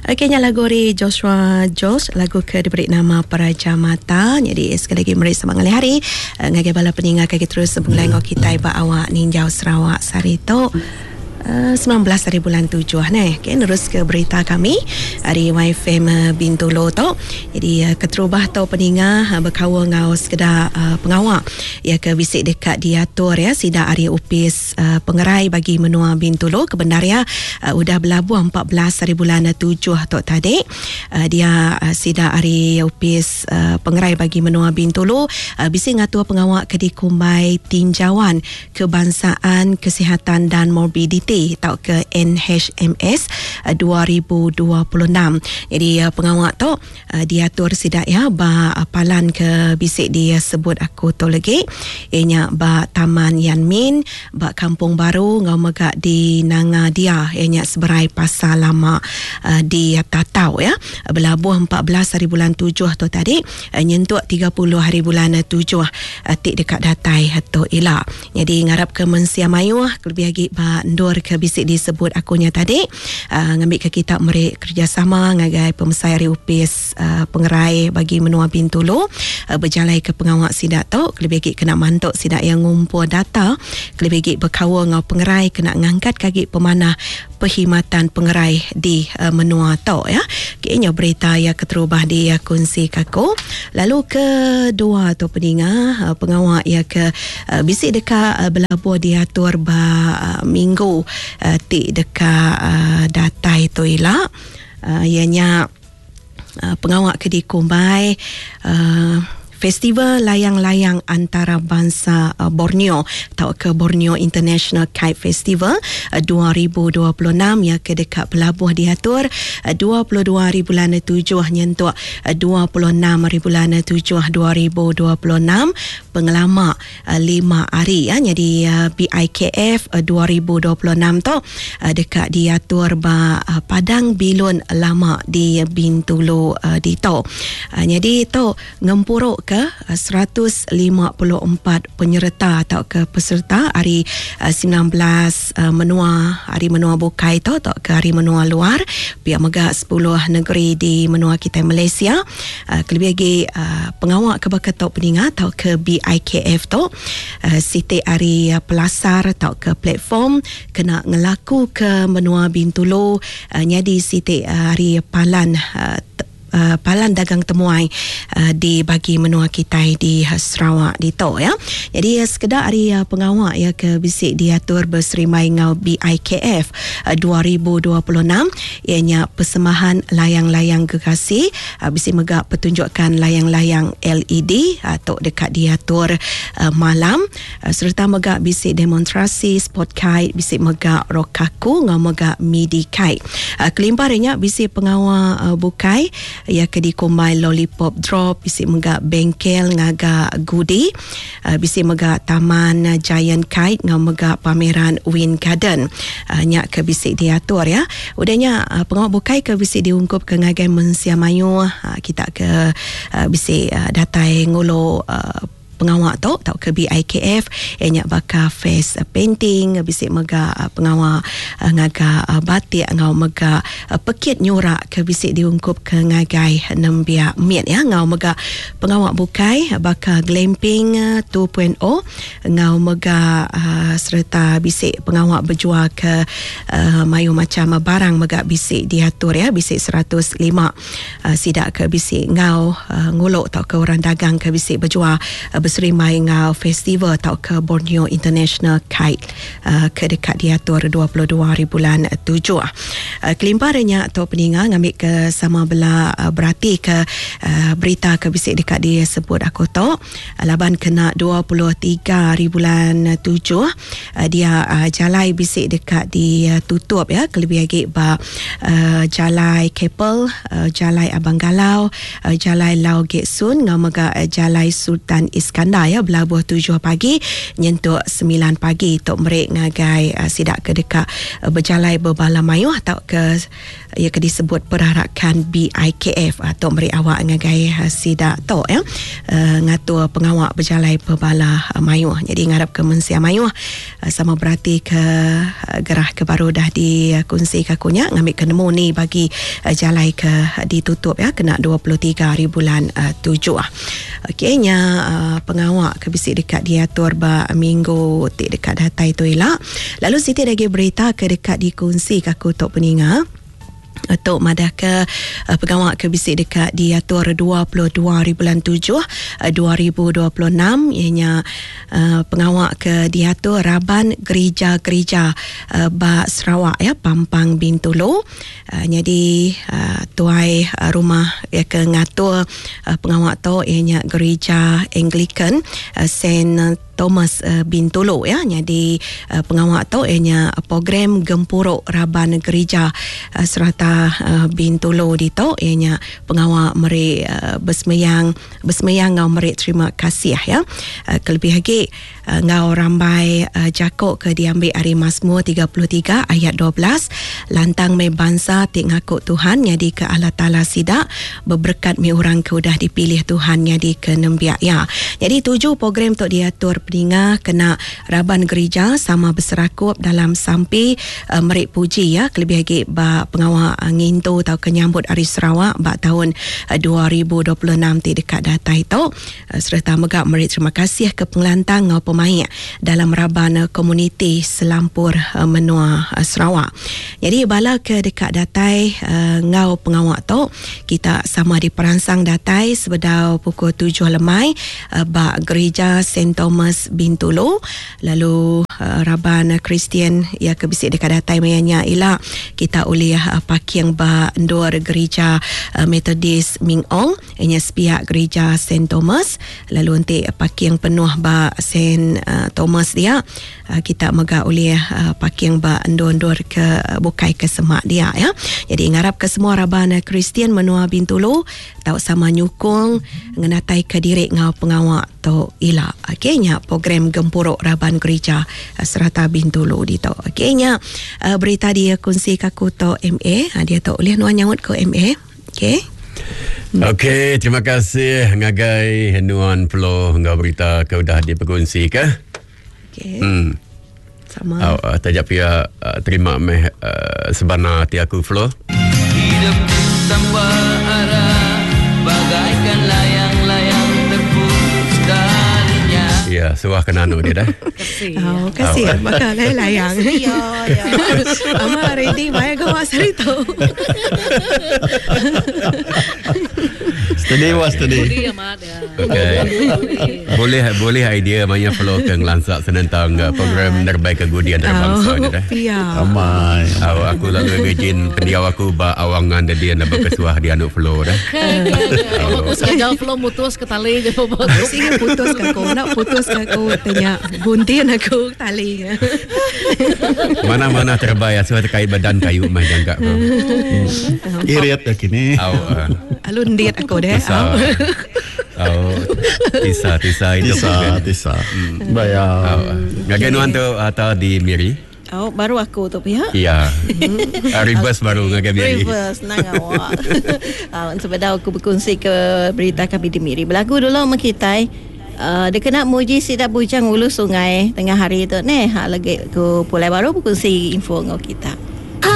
Okey nya lagu ari Joshua George lagu ke diberi nama Peraja Mata. Jadi sekali lagi meri selamat ngalih hari eh, ngagai bala peninga ke terus begulai enggau kitai ba awak ninjau Sarawak sehari tu. 19 eh, hari bulan 7 neh. Okey nerus ke berita kami ari YFM eh, Bintulu tu. Jadi keterubah tu peninga bekaul enggau sekeda pengawa ya ke bisi deka diatur ya sida ari opis Pengerai bagi menua Bintulu ke bendar iya udah belabuh 14 hari bulan tujuh tu tadi. Dia sida ari Opis Pengerai bagi menua Bintulu bisi ngatur pengawa ke dikumbai Tinjauan Kebangsaan Kesihatan dan Morbiditi tauka NHMS 2026. Jadi pengawa tu diatur sida iya ba palan ke bisi disebut aku tu legi iya nya ba Taman Yan Min ba Kampung Baru enggau mega di Nanga Dia iya nya seberai Pasar Lama di Tatau iya belabuh 14 hari bulan tujuh tu tadi nyentuk 30 hari bulan tujuh ti deka datai tu ila. Nyadi ngarapka mensia mayuh kelebih agi ba endur ke bisi disebut aku nya tadi ngambika kita meri kerejasama ngagai pemesai ari opis pengerai bagi menua Bintulu bejalaika pengawa sida tu kelebih agi kena mantu sida iya ngumpul data kelebih agi bekaul enggau pengerai kena ngangkatka agi pemanah perkhidmatan pengerai di menua tu ya. Okey nya berita iya keterubah di kunsi ka aku. Lalu kedua tu peninga pengawa iya ke bisi deka belabuh diatur ba minggu ti deka datai tu ila iya nya pengawa ke dikumbai Festival Layang-Layang Antarabangsa Borneo tauka Borneo International Kite Festival 2026 iya ke deka belabuh diatur 22 hari bulan tujuh nyentuk 26 hari bulan tujuh 2026 pengelama lima hari ya nyadi BIKF 2026 tu deka diatur ba Padang Bilun Lama di Bintulu ditu. Nyadi tu ngempuru ke 154 penyereta tauka peserta ari 19 menua ari menua bukai tu tauka ari menua luar pia mega 10 negeri di menua kitai Malaysia. Kelebih agi pengawa ke baka tu peninga tauka BIKF tu siti ari pelasar tauka platform kena ngelakuka menua Bintulu nyadi siti ari palan palan dagang temuai di bagi menua kitai di Sarawak ditu ya. Jadi sekeda ari pengawa iya ke bisi diatur beserimbai enggau BIKF 2026 iya nya persembahan layang-layang gegasi bisi mega pertunjukan layang-layang LED tu deka diatur malam sereta mega bisi demonstrasi sport kite bisi mega rokaku enggau mega midi kite. Kelimpah ari nya bisi pengawa bukai iya ke dikumbai lollipop drop bisi mega bengkel ngaga gudi Bisi mega Taman Giant Kite enggau mega Pameran Wind Garden nya ke bisi diatur ya. Udah nya pengawa bukai ke bisi diungkupka ngagai mensia mayuh kita ke bisi datai ngulu pengawa tu tauka BIKF iya nya baka face painting bisi mega pengawa ngaga batik enggau mega pekit nyurak ke bisi diungkupka ngagai nembiak mit ya enggau mega Pengawa bukai baka glamping 2.0 enggau mega sereta bisi pengawa bejual ke mayuh macham barang mega bisi diatur ya bisi 105 sida ke bisi enggau ngulu tauka orang dagang ke bisi bejual beserimbai enggau festival tauka Borneo International Kite ke deka diatur 22 hari bulan tujuh. Kelimpah ari nya tu peninga ngambika sama bela beratika berita ke bisi deka disebut aku tu laban kena 23 hari bulan tujuh dia jalai bisi deka ditutup ya kelebih agi ba jalai Keppel, jalai Abang Galau, jalai Lau Gek Soon enggau mega jalai Sultan Iskandar. Iskandar ya belabuh tujuh pagi nyentuk semilan pagi tu meri ngagai sida ke deka bejalai bebala mayuh tauka iya ke disebut perarakan BIKF tu meri awak ngagai sida tu ya ngatur pengawa bejalai bebala mayuh. Jadi ngarapka mensia mayuh sama beratika gerah ke baru dah dikunsika aku nya ngambika nemu ni bagi jalai ke ditutup ya kena 23 hari bulan tujuh. Okey nya pengawa ke bisi deka diatur ba minggu ti deka datai tu ila. Lalu siti agi berita ke deka dikunsika aku tu peninga. Tu madahka pengawa ke bisi deka diatur 22 hari bulan 7 2026 iya nya pengawa ke diatur raban gerija-gerija ba Sarawak ya Pampang Bintulu. Nyadi tuai rumah iya ke ngatur pengawa tu iya nya Gerija Anglican Saint Thomas Bintulu ya nyadi pengawa tu iya nya program gempuru raban gerija serata Bintulu ditu iya nya pengawa meri besemeyang besemeyang enggau meri terima kasih ya kelebih agi enggau rambai jaku ke diambi ari Mazmur 33 ayat 12 lantang meh bansa ti ngaku Tuhan nyadika Allah Taala sida Beberekat mih orang ke udah dipilih Tuhan nyadika nembiak Iya. Nyadi tuju program tu diatur peninga kena raban gerija sama beserakup dalam sampi meri puji iya kelebih agi ba pengawa ngintu tauka nyambut Hari Sarawak ba taun 2026 ti deka datai tu sereta mega meri terima kasih ke pengelantang enggau pemaik dalam raban komuniti selampur menua Sarawak. Nyadi bala ke deka datai enggau pengawa tu Kita sama diperansang datai sebedau pukul tujuh lemai ba Gerija Saint Thomas Bintulu lalu raban Kristian iya ke bisi deka datai maya nya ila kita ulih parking ba endur Gerija Methodist Ming Ong iya nya sepiak Gerija Saint Thomas lalu enti parking penuh ba Saint Thomas dia Kita mega ulih parking ba endur-endur ke bukai ke semak dia ya. Jadi ngarapka semua raban Kristian menua Bintulu tau sama nyukung ngenataika diri enggau pengawa tu ila. Okey nya program gempuru raban gerija serata Bintulu ditu. Okey nya berita dikunsika aku tu MA. Diatu ulih nuan nyaut ku MA. Okey. Okey, terima kasih ngagai nuan Flo enggau berita ke udah dipekunsika. Okay. Hmm. Sama. Oh, taja pia uh, terima meh uh, sebana ati aku Flo. Hidup tanpa arah bagaikan layang-layang terputus talinya. Ya, suah kena anu dia dah. Kasih. Oh, kasih. Oh. Maka layang. Ya, ya. Ama ready maya gawa sari tu. Steady was steady. Budi amat ya. Okey. Boleh boleh idea maya flow ke ngelansa senentang uh, program nerbai ke gudi antarabangsa Oh, ni dah. pia. Amai. Au aku lalu imagine pendiau aku ba awangan dia nak berkesuah dia anu flow dah. Aku sengaja flow mutus ke tali je Sini putus ke aku, nak putus ke aku tanya guntin aku tali. Mana-mana terbai asuh terkait badan kayu mah jangka aku. Irit ya kini. Au. Uh, Alu ndit aku deh. Tisa. Au. Tisa tisa itu. Tisa, tisa. Bayar. Au. Ngagai nuan tu atau di Miri? Oh, baru aku tu pihak. Ya. Uh, reverse baru ngagai Miri. Reverse nang awak. Uh, sebedau aku berkongsi ke berita kami di Miri. Berlagu dulu sama kita. Uh, dia kena muji sidak bujang ulu sungai tengah hari tu ni. Ha lagi aku pulai baru berkongsi info dengan kita.